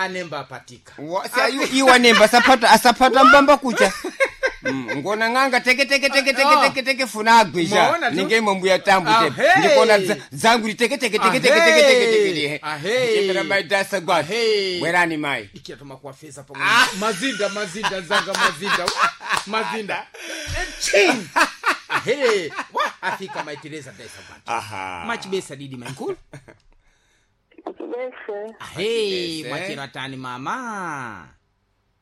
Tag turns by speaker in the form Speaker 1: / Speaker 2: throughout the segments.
Speaker 1: Anemba apatika.
Speaker 2: Iwa nemba asapata asapata mbamba kucha. Ngona ng'anga teke teke teke teke teke teke funa agwija
Speaker 1: Mwaona tu?
Speaker 2: ninge mbuya tambu te
Speaker 1: Ahei.
Speaker 2: ndikona zangu li teke teke teke teke teke teke teke teke.
Speaker 1: Ahei.
Speaker 2: Chepera mai dasa gwa
Speaker 1: Ahei.
Speaker 2: bwerani mai.
Speaker 1: Ikiya tomakuwafeza pamwe mazinda mazinda zanga mazinda. Wa, mazinda. Ching! Ahe wa afika mai Teresa daisa gwati.
Speaker 2: Aha.
Speaker 1: Machibesa didi mainkulu.
Speaker 3: Bese,
Speaker 1: Ahe
Speaker 2: Machibese.
Speaker 1: mwachera tani mama.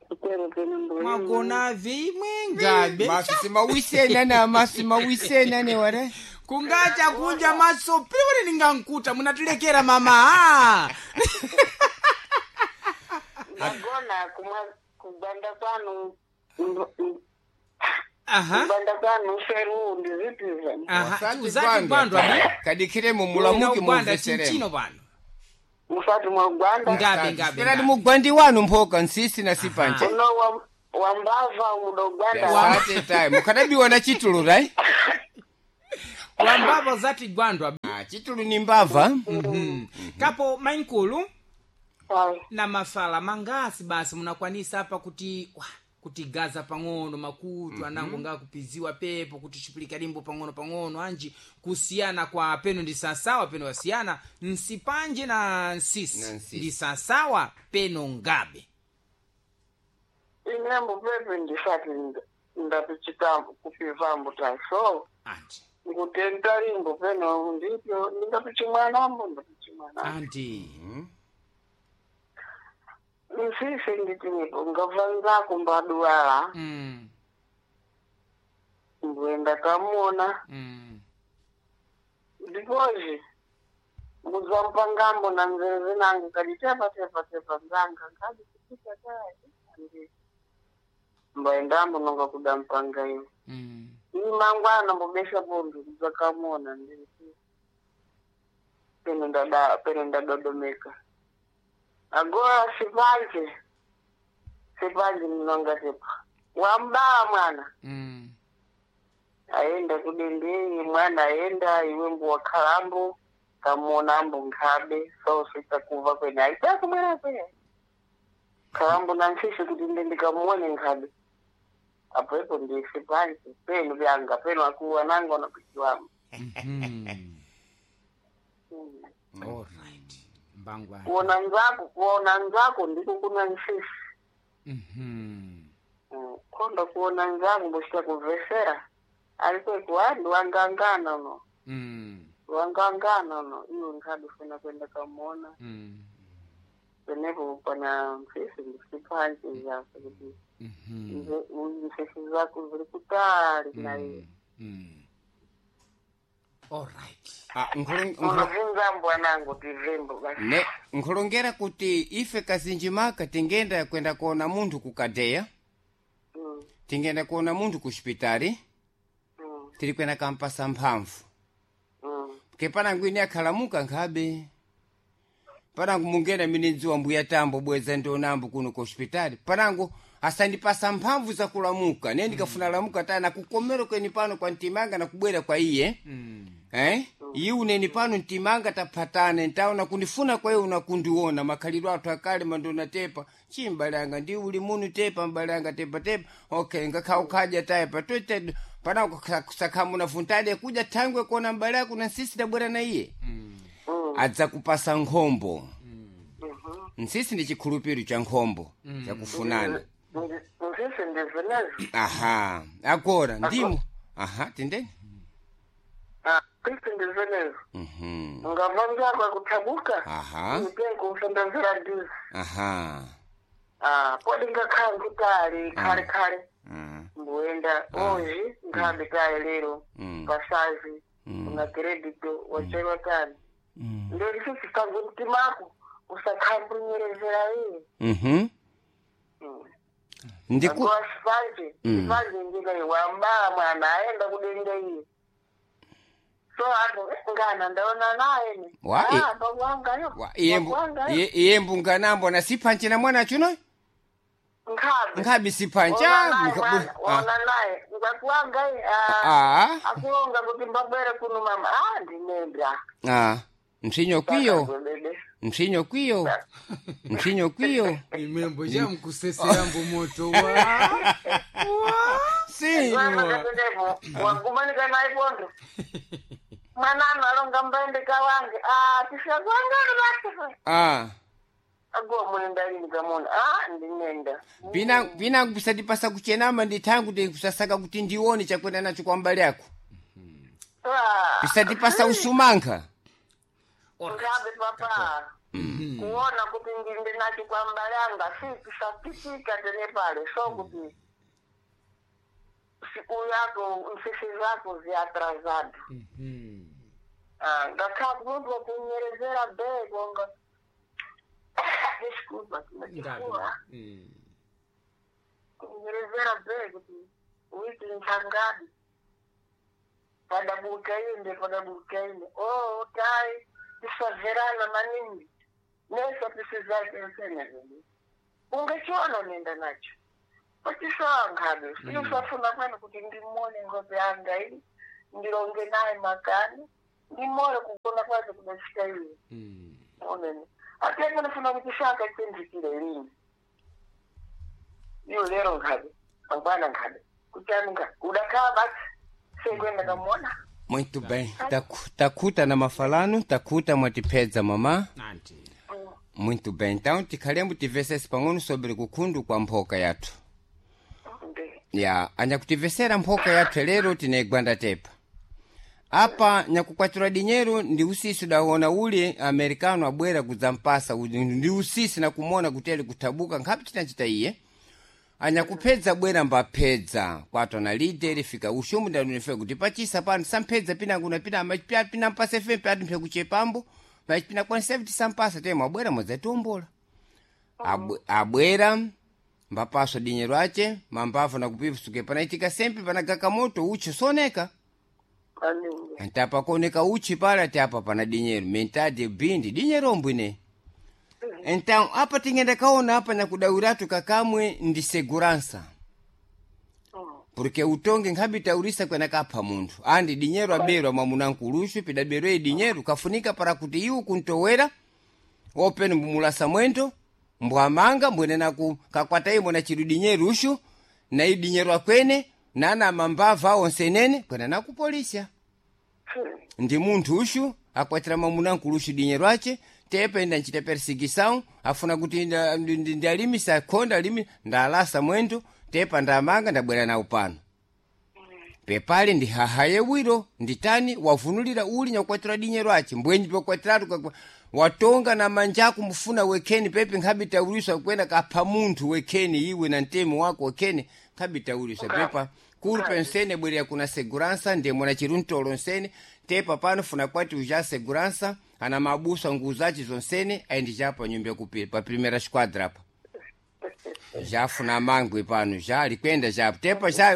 Speaker 3: kutero pene mboyo.
Speaker 1: Mwagona vimwe ngabe.
Speaker 2: Masi mawisena na masi mawisena ne ware.
Speaker 1: Kungacha kunja maso piwiri ningankuta munatilekera mama.
Speaker 3: Mwagona kumwa kuganda kwanu.
Speaker 1: Aha.
Speaker 3: Kuganda kwanu feru ndizitiza.
Speaker 1: Aha.
Speaker 2: Wasati
Speaker 1: Uzati
Speaker 2: gwandwa.
Speaker 1: gwandwa bi.
Speaker 2: Kadikire mu mulamuki
Speaker 1: Gwanda
Speaker 2: mumveseremo.
Speaker 1: chinchino pano.
Speaker 3: Musati mwa Uganda.
Speaker 1: Ngabe ngabe.
Speaker 2: Perani
Speaker 1: ngabe.
Speaker 2: mugwandi wanu mphoka nsisi na sipanje.
Speaker 3: Uno wa wambava uno Uganda.
Speaker 2: Asante tayi mukadabiwa na chitulu right.
Speaker 1: Wambava zati gwandwa.
Speaker 2: Ah, chitulu ni mbava.
Speaker 1: Kapo mainkulu
Speaker 3: Ai,
Speaker 1: na mafala mangasi basi munakwanisa apa kuti wa, kuti gaza pang'ono makutu anango ngakupiziwa pepo kuti chipulika limbo pang'ono pang'ono anji kusiyana kwa peno ndi sasawa peno wasiyana nsipanje na nsisi
Speaker 2: Na nsisi.
Speaker 1: ndi sasawa peno ngabe.
Speaker 3: inembo pepe ndisati ndapichita kupivambo taso.
Speaker 1: Anti.
Speaker 3: Ngutenta limbo peno ndipyo ndingapichimwanambo ndapichimwanambo.
Speaker 1: Anti.
Speaker 3: Nsisi nditinipo ngavanzako mbaduwala. Mbwenda kamona. Ndipozi muzampangambo na nzeve nange kadi tepa tepa tepa nzanga nkadi kupita kadi andi mbaendambo nonga kuda mpanga iwo. Ini mangwana mbobesha pundu mudzakamona nditi peno ndada peno ndadodomeka. Agora sipanje sipanje ndinonga tepa wambaa mwana. Aenda kudendei mwana aenda iwe mbuwa khalambo kamuona ambo nkhabe sosita kuva kwene aitakumwera kwe khalambo na nfisi kuti nde ndikamuone nkhabe apo ipo ndisi pansi penu vyanga penu akuwa nango nakuchiwamo.
Speaker 1: Alright. Mbangwa.
Speaker 3: Kuona nzako kuona nzako ndiko kuna nfisi. Konda kuona nzako mbochita kumvesera alikwekuwandu wangangana no. Wangangana no iwe nkhabe funa kwenda kamuona. Penepo pana mfisi ndisipansi zako kuti mfisi zako ziri kutali na iye.
Speaker 1: Alright.
Speaker 2: Ah,
Speaker 3: Unobvunza mbwanangu tivimbo basi.
Speaker 2: ne nkhulongera kuti ife kazinji maka tingenda kwenda kuona munthu kukadeya. Tingenda kuona munthu ku xipitali. Tiri kwenda kampasa mphamvu. Ke panangu ine akhalamuka nkhabe panangu mungena mine ndziwa mbuya tambo bweza ndionambo kuno ku hospitali panangu asandipasa mphamvu zakulamuka ne ndikafuna lamuka taya nakukomero kweni pano kwa mtimanga nakubwera kwa iye. Eh? Iye uneni pano mtimanga taphatane ntaona kundifuna kwa iye unakundiona makhalidwe athu akale mandona tepa chi mbalanga ndi uli munu tepa mbalanga tepa tepa okay ngakha ukhaja taye patote panangu sakhamuna funtade kuja thangwe kuona mbale ako na nsisi dabwera na iye. Adzakupasa nkhombo. Nsisi ndi chikhulupiro cha nkhombo chakufunana.
Speaker 3: Mfisi ndizinezo.
Speaker 2: Aha agora ndimo aha tindeni.
Speaker 3: Mfisi ndizinezo. Ngava nzako akuthabuka.
Speaker 2: Aha.
Speaker 3: Mtengo usandazira ndizi.
Speaker 2: Aha.
Speaker 3: Ah, podi ngakhala kutali khale khale. Mbuenda oji nkhabe tayi lero. Pasazi una credito wachewa tani. Ndio sisi kangu mtimako usakhambunyerezera iye.
Speaker 2: Ndiku
Speaker 3: Agora sipanje sipanje njika wambala mwana aenda kudenga iye. So apo ngana ndaona naye ni.
Speaker 2: Wa-
Speaker 3: Ah, mbangwangayo.
Speaker 2: Wa- iye iye mbunganambo na sipanche na mwana chuno.
Speaker 3: Nkhabe.
Speaker 2: Nkhabe sipancha.
Speaker 3: Waona naye ngakuwanga iye.
Speaker 2: Ah.
Speaker 3: Akulonga kuti mbabwere kuno mama. Ah, ndinenda.
Speaker 2: Ah, mpsinyo kwiyo.
Speaker 3: Bebe.
Speaker 2: Ntsinyo kwiyo, ntsinyo kwiyo.
Speaker 1: Imwembo jamkuseserambo moto wa
Speaker 2: Si.
Speaker 3: Tenepo wagumanika naye pondo mwananu alonga mbaende kawange ah tisazangana basi
Speaker 2: Ah.
Speaker 3: aguwa munenda lini kamona ah ndinenda.
Speaker 2: Pina pina kusatipasa kuchenama ndithangu ndi kusasaka kuti ndione chakwenda nacho kwa mbali yako.
Speaker 3: Ah.
Speaker 2: Pisatipasa usumankha.
Speaker 3: Ngabe papa kuona kuti ndinde nacho kwa mbalanga si tisapitika tene pale so kuti siku yako msisi zako ziatrasado. Ah, ngakhala munthu wakunyerezera beko nga desculpa
Speaker 1: Ngabe.
Speaker 3: chifukwa kunyerezera beko kuti wiki nchangadi padabuka inde padabuka inde oh tai tisaverana maningi nesa tisizake nsenezeni ungechiona nenda nacho patisawangabe siusafuna kwene kuti ndimone ngope yanga iyi ndilonge naye makani ndimone kugona kwake kudachita iye onene atenge nifuna kuti shaka chinzikile lini iyo lero nkhabe mangwana nkhabe kuchani nkhabe udakhala basi sekwenda kamona.
Speaker 2: Muito bem. Takuta na mafalano, takuta mwatipedza mama.
Speaker 1: Anti.
Speaker 2: Muito bem. Então tikhalembo tivesese pang'ono sobre kukhundu kwa mphoka yathu.
Speaker 3: Ndi.
Speaker 2: Ya, anyakutivesera mphoka yathu lero tinegwanda tepa. Apa nyakukwatira dinheiro ndi usisi udawona ule americano abwera kudzampasa ndi usisi nakumona kuti ali kuthabuka nkhapi tinachita iye. Anyakuphedza bwera mbaphedza kwatwa na lideri fika ushumu ndalunife kuti pachisa pano samphedza pinangu na pina amachipya pina mpasa fm pati mphe kuchepambo machipina kwanisa kuti sampasa temo abwera mwadzatiombola. Abwera mbapaswa dinyero ache mambavu nakupisuke panaitika sempi panagaka moto uchi soneka.
Speaker 3: Maningi.
Speaker 2: Antapa kuoneka uchi pala ati apa pana dinyero mentade bindi dinyero mbwine. Então apa tingenda kaona apa nyakudawiratu kakamwe ndi segurança porque utonge nkhabi taurisa kwena kapha munthu andi dinyero aberwa mwamunankuluxu pidaberwe dinyero kafunika para kuti iwo kuntowera openi mbumulasa mwendo mbwamanga mbwene ku kakwata imwe na chidu dinyeru uxu na i dinyero akwene nana mambava onse nene kwena nakupolisya ndi munthu uxu akwatira mwamunankuluxu dinyero ace tepe nda ncita perseguição afuna kuti ndalimisa akhonda alimi ndalasa mwendo tepa ndamanga ndabwera nawo pano pepale ndi hahaye wiro nditani wavunulira uli nyakukwatira dinyero ace mbwenji pokwatiratu watonga na manjaku mufuna wekheni pepe nkhabi tauliswa kwena kapha munthu wekheni iwe na mtemo wako wekheni nkhabi tauliswa pepa kulu pensene bwerera kuna segurança ndemwe na chiruntolo nsene tepa pano funa kwati uja segurança ana mabusa nguvu zace zonsene ayendi japa nyumba yakupira pa primeira squadra apa jafuna mangwe pano ja alikwenda japo tepa ja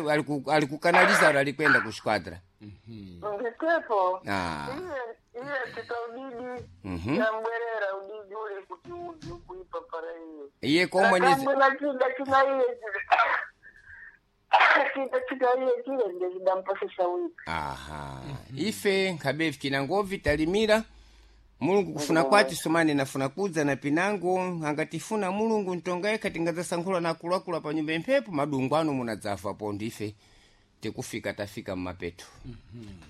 Speaker 2: alikukanaliza alikwenda ku squadra.
Speaker 3: Nditepo.
Speaker 2: Ah.
Speaker 3: Iye iye titaudidi yambwerera udidi ule kuti udzi kuipa para iye.
Speaker 2: Iye komwe ni
Speaker 3: Akambwera chida china iye chida chida iye chile ndiye chidampasisa wipi.
Speaker 2: Aha. Ife nkhabe kinangovi talimira mulungu kufuna kwati somani nafuna kudza na pinango angatifuna mulungu ntonga yekha tingadzasankhula na akuluakulu pa nyumba imphepo madungu ano munadzafa po ndife tikufika tafika mmapeto.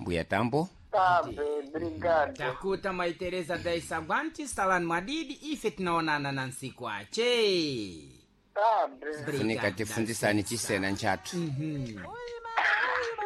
Speaker 2: Mbuya tambo.
Speaker 3: Tabe, brigado.
Speaker 1: Takuta mai Teresa da Isabwanti salani mwadidi ife tinaonana na nsiku ache.
Speaker 3: Tabe.
Speaker 2: Funika tifundisani chisena nchathu.
Speaker 4: Oi,